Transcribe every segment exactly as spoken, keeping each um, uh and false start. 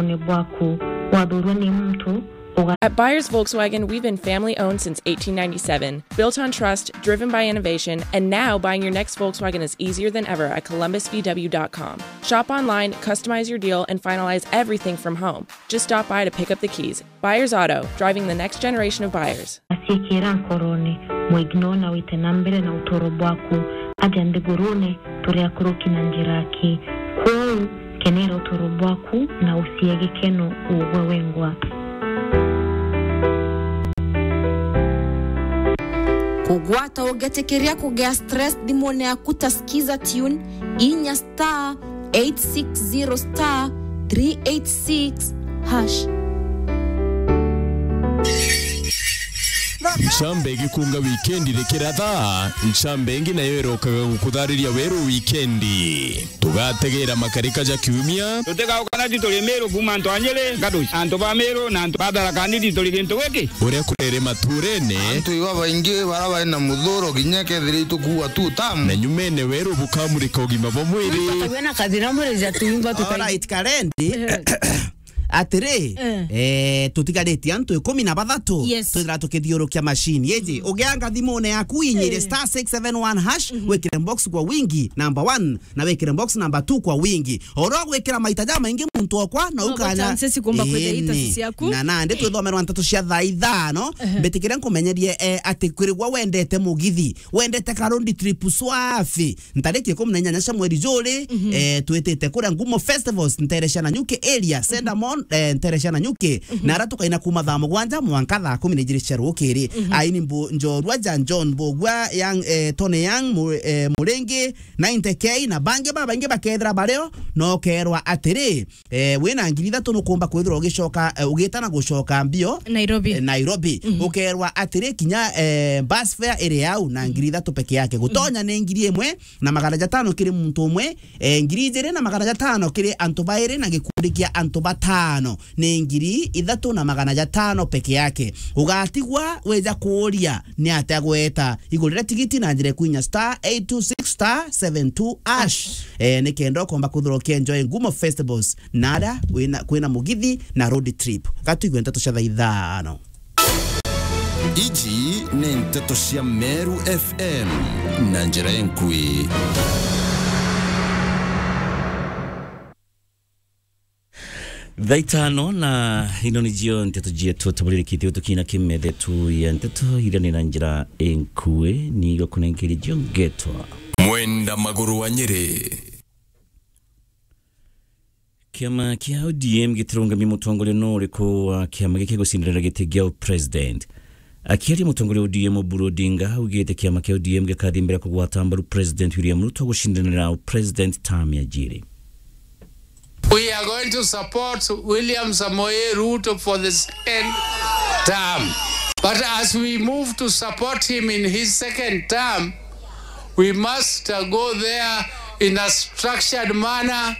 nkorone bwaku. Wathurwa ni muntu uga- At Buyers Volkswagen, we've been family owned since eighteen ninety-seven, built on trust, driven by innovation, and now buying your next Volkswagen is easier than ever at columbus V W dot com. Shop online, customize your deal, and finalize everything from home. Just stop by to pick up the keys. Buyers Auto, driving the next generation of buyers. Aciikira nkorone, mwignore na wite na mbere na utoro bwaku. Aja nthigurune, turi akuruki na njira aki. Kwou, kenera utoro bwaku na ucie gikeno ugwe wengwa. Kugwata ugetikiria kugia stress thimune yaku ta Skiza Tune, inya star eight six zero star three eight six hash. Ncamba igikunga wikendi rikiratha, ncamba ingi nayo irokaga gukuthariria weru wikendi. Tugategera makarika ja kiumia. Tutigauka na tituri Miru kuuma antu a Nyeri, Gaduci, antu ba Miru na antu ba Tharaka Nithi turi gintu giki. Uria kurere maturene. Antu iba baingi bara bari na muthuro kinya kethira itukuua tu tamu. Na nyumene weru bukamurika ugima bwa mwiri. Tutakuwa na kathira mwiri ja tuimba tukai- Alright, Karendi. Atiri, eh, tutigaritie antu ikumi na bathatu. Yes. Twithira tukithiurukia machine. Yeji, ugianga thimune yaku inyire star six seven one hash, wikire box kwa wingi number one, na wikire box number two kwa wingi. Oro gwikira maita ja maingi muntu okwa, na ukanya chances kumba kwithira itasi ciaku. Na nandi twithomerwa nteto cia thaa ithano, mbitikire nkumenyerie, eh, ati kwirigwa wendete mugithi, wendete ka road trip swafi. Ntariki ikumi na inyanya cia mweri juri, eh, twitite kuria Ngumo Festivals, ntere cia Nanyuki area, Sendamon, eh, ntere cia Nanyuki. Na ara tukaina kuma thaa mugwanja mwanka thaa kumi na ijiri cia rukiri. Aini mbu-, njorua ja John Mbugua, Young, eh, Tony Young, Mu-, eh, Muringi, ninety K, na bangi babaingi bakethira bario, na ukerwa atiri, eh, wina ngiri ithatu nukumba kwithirwa ugicoka, eh, ugita na gucoka mbio Nairobi. Eh, Nairobi. Ukerwa atiri kinya, eh, bus fare iri au na ngiri ithatu peke yake. Gutonya ni ngiri imwe na magana jatano kiri muntu umwe, eh, ngiri ijiri na magana jatano kiri antu bairi na gikundi kia antu batano. Ni ngiri ithatu na magana jatano peke yake. Ugatigwa wija kuuria ni atia gweta. Igurire tigiti na njira ikuinya star eight two six star seven two hash. Eh, ni kenda ukomba kwithirwa ukienjoy Ngumo Festivals na aria wina, kwina mugithi na road trip. Gatwigwe nteto cia thaa ithano. Iji ni nteto cia Meru F M na njira inkui. Thaa itano na ino nicio nteto cietu tuburirikite gutukina kimethe tu ya nteto iria ni na njira inkui, ni gukunenkeria cio ngetwa Mwenda Maguru wa Nyeri. Kiama kia O D M gitirungamia mutongoria no uriku wa kiama giki gucindanira giti gia president. Akiaria, mutongoria wa O D M Oburu Odinga augite kiama kia O D M gikathi mbere kugwata mbaru President William Ruto gucindanira president term ya jiri. We are going to support William Samoei Ruto for the second term. But as we move to support him in his second term, we must, uh, go there in a structured manner,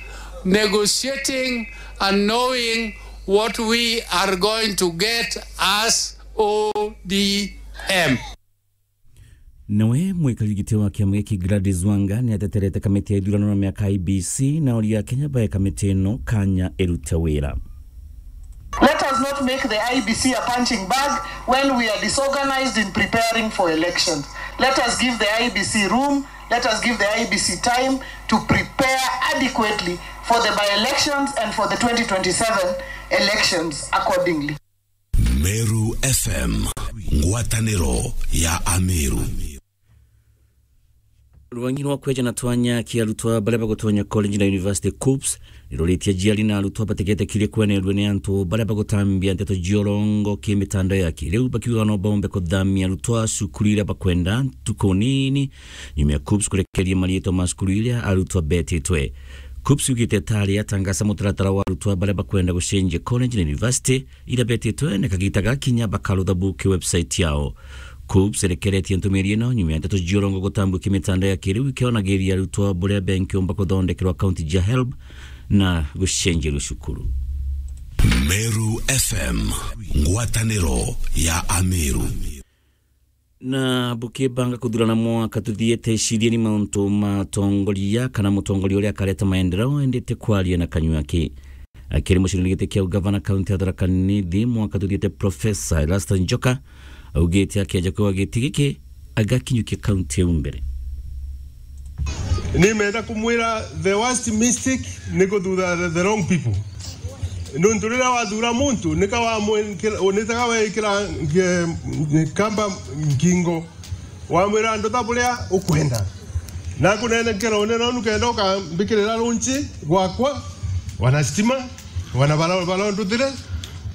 negotiating and knowing what we are going to get as O D M. Nawe mwikari giti wa kiama giki Gladys Wanga ni ateterete kamiti ya ithurano na miaka I B C na oria Kenya bae kamiti ino kanya irute wira. Let us not make the I B C a punching bag when we are disorganized in preparing for elections. Let us give the I B C room, let us give the I B C time to prepare adequately for the by-elections and for the twenty twenty-seven elections accordingly. Meru F M, ngwataniro ya Ameru. Rwangi rwa kweja na twanya kia arutwa baria bagutonya college na university, KUPPS, niruritie aciari na arutwa batigetikirie kwenerua ni antu baria bagutambia nteto cia urongo ki mitandao ya kiriu, bakiuga no baumbe kuthamia arutwa cukuru iria bakwenda ntuku nini nyuma ya KUPPS kurekeria mariitwa ma cukuru iria arutwa betitwe. KUPPS yugite itari yatangasa mutaratara wa arutwa baria bakwenda gucenjia college na university iria betitwe na kagita gakinya bakarutha buki website yao. KUPPS irekeretie ntumiri ino nyuma ya nteto cia urongo gutambua ki mitandao ya kiriu ikionagiria arutwa buria benkiumba kuthondekerwa akaunti cia HELB na gucenjerua cukuru. Meru F M, ngwataniro ya Ameru. Na bukibanga kuthurana mwaka tuthiete, cirieni mauntu ma atongoria kana mutongoria uria akareta maendeleo endete kwaria na kanyua ki. Akiri mucindani giti kia ugavana kaunti ya Tharaka Nithi mwaka tuthiite, Professor Erastus Njoka augite akeja kwigwa giti giki agakinyukia kaunti iu mbere. Nimenda kumwira the worst mistake ni kuthutha the, the wrong people. Nuntu riria wathura muntu, nika wamwikira, unitaga wekira nge-, kamba ngingo, wamwira andu ta buria ukwenda. Nakunenkera unene unu kenda ukambikirira lunchi gwakwa, wana stima, wana bara-, bara nduthire.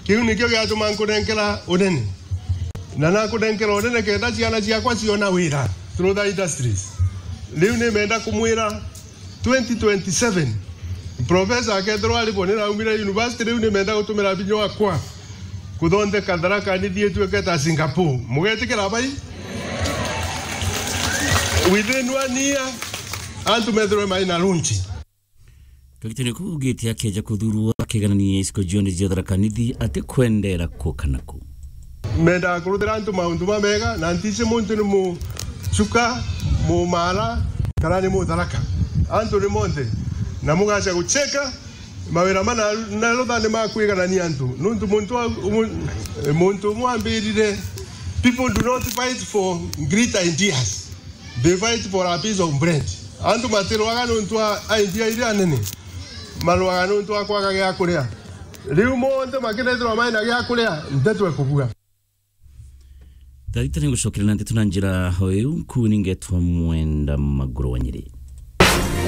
Kiu nikio giatuma nkunenkera unene. Na nakunenkera unene kenda ciana ciakwa ciona wira through the industries. Riu nimenda kumwira twenty twenty-seven, professor akethirwa aribo niraumire university, riu nimenda gutumira binya wakwa kuthondeka Tharaka Nithi ituike ta Singapore. Mugetikira bai? Within one year, antu methirwe mai na lunch. Kagitene kau ugite akeja kuthurwa akiganania icigo cionthe cia Tharaka Nithi atikwendera ku kana ku. Mendaga kuruthira antu maundu mamega, na ntici muntu ni mucuka, mumara, kana ni mutharaka. Antu ni monthe, na mugaca gucheka mawira mana na ruthani ma kwiganania antu. Nuntu muntu wa, umu-, muntu umwe ambirire, "People do not fight for great ideas. They fight for a piece of bread." Antu matirwaga nuntu wa idea iria nene, marwaga nuntu wa kwaga gia kuria. Riu monthe makirethirwa mai na gia kuria, nteto ekubua. Tharita ni ngucokeria na nteto na njira o iu, nkuu ningetwa Mwenda Maguru wa Nyeri.